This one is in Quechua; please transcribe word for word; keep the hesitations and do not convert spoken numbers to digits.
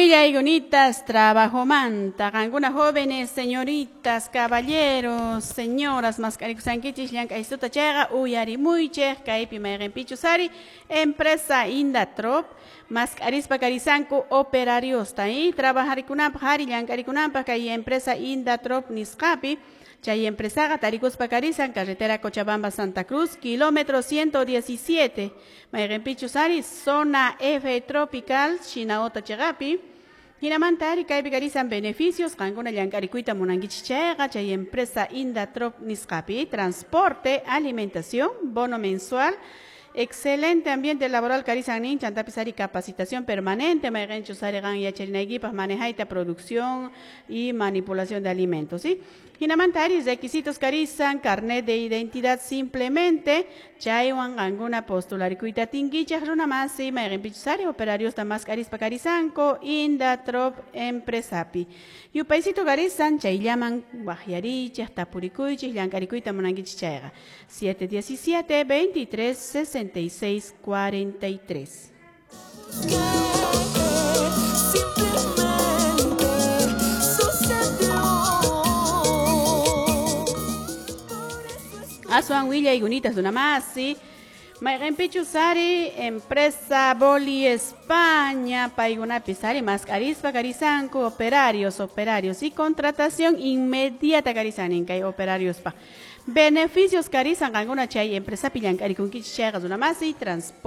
Willayunitas trabajomanta, qankuna jóvenes, señoritas, caballeros, señoras, mask'arikushankichis llank'aystuta chayqa uyarimuychik kaypi mayqinpichus ari empresa Indatrop mask'arispa karisanku operariosta y trabajarikunapaq ari llank'arikunapaq kay empresa Indatrop nisqapi. Chay empresaqa tarikuspa karisan carretera Cochabamba Santa Cruz, kilómetro ciento diecisiete, mayqinpichus ari zona F tropical, Shinaota chiqapi. Hinamanta ari kaypi karisan beneficios, qankuna llank'arikuyta munankichis chayqa chay empresa Indatrop nisqapi, transporte, alimentación, bono mensual, excelente ambiente laboral karisan nin, chantapis ari capacitación permanente, mayqinchus ari qan yacharinaykipaq manejayta producción y manipulación de alimentos, ¿sí? Hinamanta ari requisitos karisan, carnet de identidad simplemente, chaywan qankuna postularikuyta atinkichaq runa masi, mayqinpichus ari operariosta mask'arispa karisanku Indatrop empresapi. Yupaysito karisan chayllaman waqyarichaq, tapurikuychik, llank'arikuyta munankichis chayqa. siete diecisiete, veintitrés, sesenta y seis, cuarenta y tres. Aswan willayunitas runamasi, mayqinpichus ari empresa Boli España, paykunapis ari mask'arispa karisanku operarios, operarios y contratación inmediata karisanin kay operariospa. Beneficios karisan qankuna chay empresapi llank'arikunkichis chayqa runamasi, transporte.